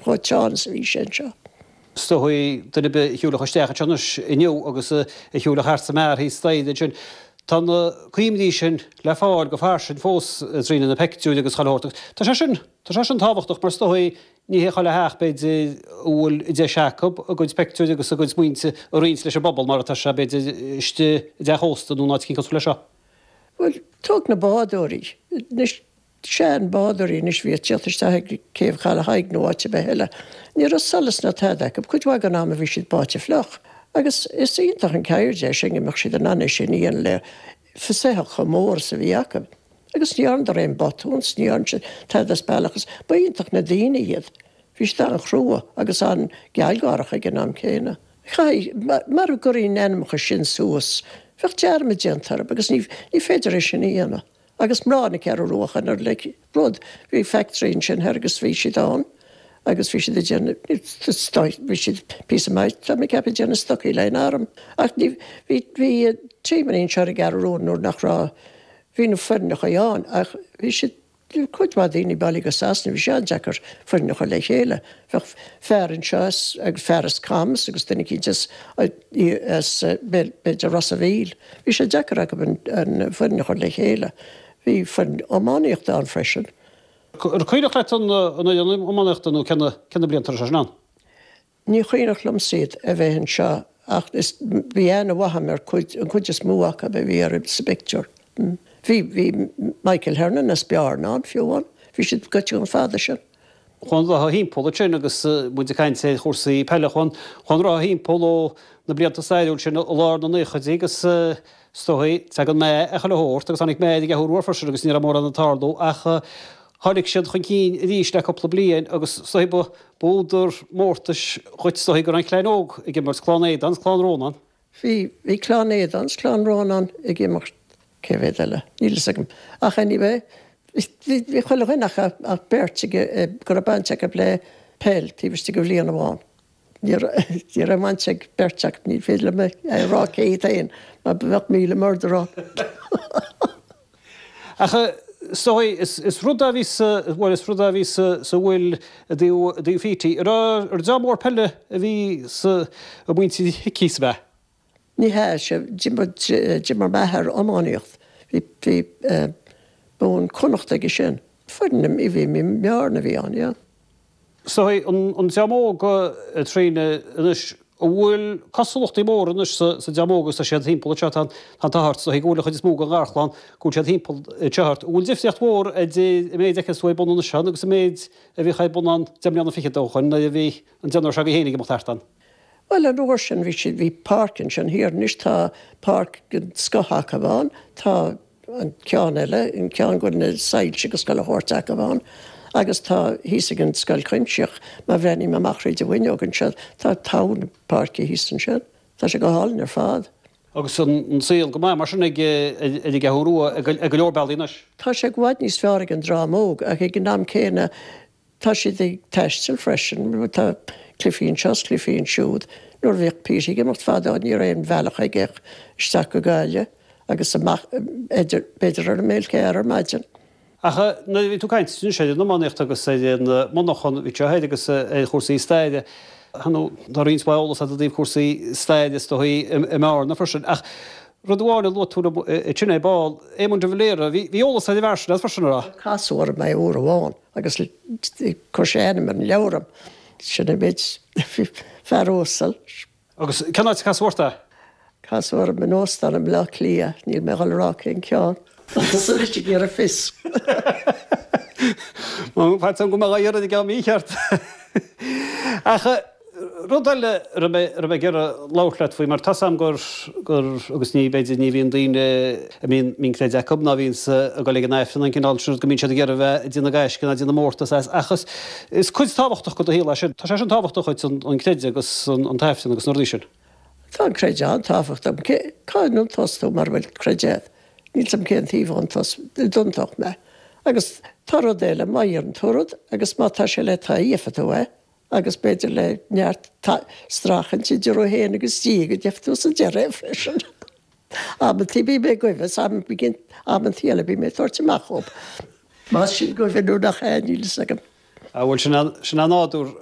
chomh teann is a bhí sé anseo. Is dóigh, duine ar bith a shiúlfadh isteach anseo anois inniu agus a shiúlfadh thart sa mbeár thíos staighre ansin, tá na cuimhní sin le fáil go fairsing fós trína na peictiúir agus chuile shórt agus tá sé sin, tá sé sin tábhachtach mar is dóigh ní hé chuile theach b'fhéidir a bhfuil deis acu a gcuid peictiúir agus a gcuid smaointe a roinnt leis an bpobal mar atá sé b'fhéidir istigh i dteach ósta nó in áit eicínt cosúil leis seo. Bhuel, tóg na bádóirí. Anois, sean bádóirí anois a bhí ag tíocht isteach ag céibh Chaladh Thaidhg nó áit ar bith eile. Ní raibh solas ná tada acu. Cuid mhaith den am a bhí siad báite fliuch. Agus is iontach an ceird é sin go mbeadh siad in ann é sin a dhéanamh le soitheach chomh mór is a bhí acu. Agus ní dhearnadar aon botún 's ní dhearn siad tada as bealach is ba iontach na daoine iad. Bhí siad an-chrua agus an-ghealgháireach ag an am céanna. Chaithfidh, mara gcuirfí na hainmneacha sin suas, bheadh dearmad déanta orthu agus ní féidir é sin a dhéanamh. Agus mná na Ceathrú Rua chan ar like rud, bhí factory ansin thoir agus bhí siad ann agus bhí siad ag déanamh, bhí siad píosa maith, tá mé ag ceapadh ag déanamh stocaí le an arm. Ach ní, bhí, bhí teamannaí anseo ar an gCeathrú Rua nuair nach raibh, bhí na foirneacha ann ach bhí siad, Bhí cuid mhaith daoine bailithe go Sasana, bhí sé an-deacair foireann a chur le chéile. Bheadh fear anseo as, agus fear as Camas agus duine eicínt as, as b'fhéidir Ros a' Mhíl. Bhí sé deacair acu an foireann a chur le chéile. Bhí foireann iománaíochta ann freisin. Ar cuimhneach leat an fhoireann iománaíochta nó cé na blianta a raibh sé sin ann? Ní cuimhneach liomsa iad a bheith anseo ach is, bhí aithne mhaith agam ar cuid, an cuid is mó acu a bhí ar, sa bpictiúr. Bhí, bhí Michael Hernon as Bearna ann fiú amháin. Bhí siad goite chomh fada sin. Chuaigh an rotha thimpeall ansin agus muid ag caint ar chúrsaí peile, chuaigh an rotha thimpeall ó na blianta stairiúil sin i lár na naochaidí agus is dóigh, tagann meath ar chuile shórt agus tháinig meath ar an gCeathrú Rua freisin agus ní raibh mórán ag tarlú ach tháinig siad chun cinn arís le cúpla bliain agus is dóigh ba B'údar mórtais dhuit is dóigh go raibh an chlann óg ag imirt, Clann Aodáin is Clann Rónáin. Bhí, bhí Clann Aodáin is Clann Rónáin ag imirt, cé mhéad eile, níl fhios agam. Ach anyway, bhí, bhí chuile dhuine ach, ach beirt ag, go raibh baint acu le peil taobh istigh de bhliain amháin. Ní raibh, ní raibh baint ag beirt acu, ní féidir liom a rá cé hiad féin, mar bheadh míle murder ann. Ach is dóigh, is rud a bhí sa, bhuel, is rud a bhí sa, sa bhfuil i dtaobh, i dtaobh Pheaty. An raibh, ar dream mór peile a bhí sa, i muintir Hickey, ab ea? Ní hea, sea, d'imir, d'imir m'athair iománaíocht. Bhí, bhí bonn Connacht aige sin. Foireann, bhí, bhí i mBearna a bhí ann, yeah. Is dóigh, an dream óg, a Tríona, anois, an bhfuil cosúlachtaí móra anois sa dream óg agus tá siad thimpeall anseo, tá an t-ádh ort, is dóigh go bhfuil an chuid is mó den gharchlann, go bhfuil siad thimpeall anseo ort. An bhfuil difríocht mhór idir an méid a fheiceanns tú ar bun anois ann agus an méid a bhíodh ar bun ann deich mbliana fichead ó shoin nuair a bhí an deichniúr seo agaibh féin ag imeacht thart ann? Bhuel, an uair sin bhí siad, bhí páirc ansin thiar, anois tá páirc den scoth acu ann, tá an ceann eile, an ceann go bhfuil na soilse agus chuile shórt acu ann, agus tá thíos ag an Scoil Chuimsitheach, má bhreathnaím amach thríd an bhfuinneog anseo, tá togha na páirce thíos ansin. Tá sé go hálainn ar fad. Agus an saol go maith mar sin ag an gCeathrú Rua ag go leor bealaí anois. Tá sé i bhfad níos fearr ag an dream óg ach ag an am céanna Tá siad ag taisteal freisin, tá cluichí anseo is cluichí ansiúd. Nuair a bhíodh Pete ag imeacht fadó ní raibh aon bhealach aige ach isteach go Gaillimh agus amach b'fhéidir ar an mBéal ar maidin. Ach nuair a bhí tú ag caint anois ar an iománaíocht agus ar an monarchan a bhí anseo thoir agus ar chúrsaí staire, tá roinnt mhaith eolas agat i dtaobh cúrsaí staire is dóigh i mBearna freisin. Ach rud amháin a luaigh tú liom ansin ar ball, Éamon de Valera, bhí eolas ar an bhfear sin agat freisin, an raibh? Casadh orm é uair amháin agus chuir sé a ainm ar an leabhar dom. Sin an méid. Fear uasal. Agus cén áit a casadh ort é? Casadh orm in óstán i mBleá Cliath. Níl mé ag dul a rá cén ceann. Tá tusa anois ag iarraidh fios. Faitíos orm go mbeadh á iarraidh i gceann mícheart. Ach rud eile a raibh mé a raibh mé ag iarraidh labhairt leat faoi, mar tá's a'm gur, gur, agus ní, b'fhéidir, ní bhíonn daoine a mbíonn, mbíonn creideamh acu ná bhíonns ag dul ag an Aifreann an cineál sin rud go mbíonn siad ag iarraidh a bheith ag déanamh gaisce ná ag déanamh mórtas as ach is, is cuid tábhachtach de do shaol é sin. Tá sé sin tábhachtach dhuit, an, an creideamh agus an, an tAifreann agus na rudaí sin. Tá an creideamh an-tábhachtach. Cé, cá n-aontódh tú mara bhfuil creideamh? Níl 's a'm cén taobh a d'aontódh mé. Agus tá rud eile, má iarrann tú rud agus má tá sé le do thoil, gheobhaidh tú é. Agus b'fhéidir le neart streachailt idir thú féin agus Dia go gheobhaidh tú sa deireadh é freisin. Amantaí bím ag goimh is amantaí eile bím ag tabhairt amach dhób. Más sin goimh nó nach ea, níl fhios agam. Bhuel, sin é nádúr.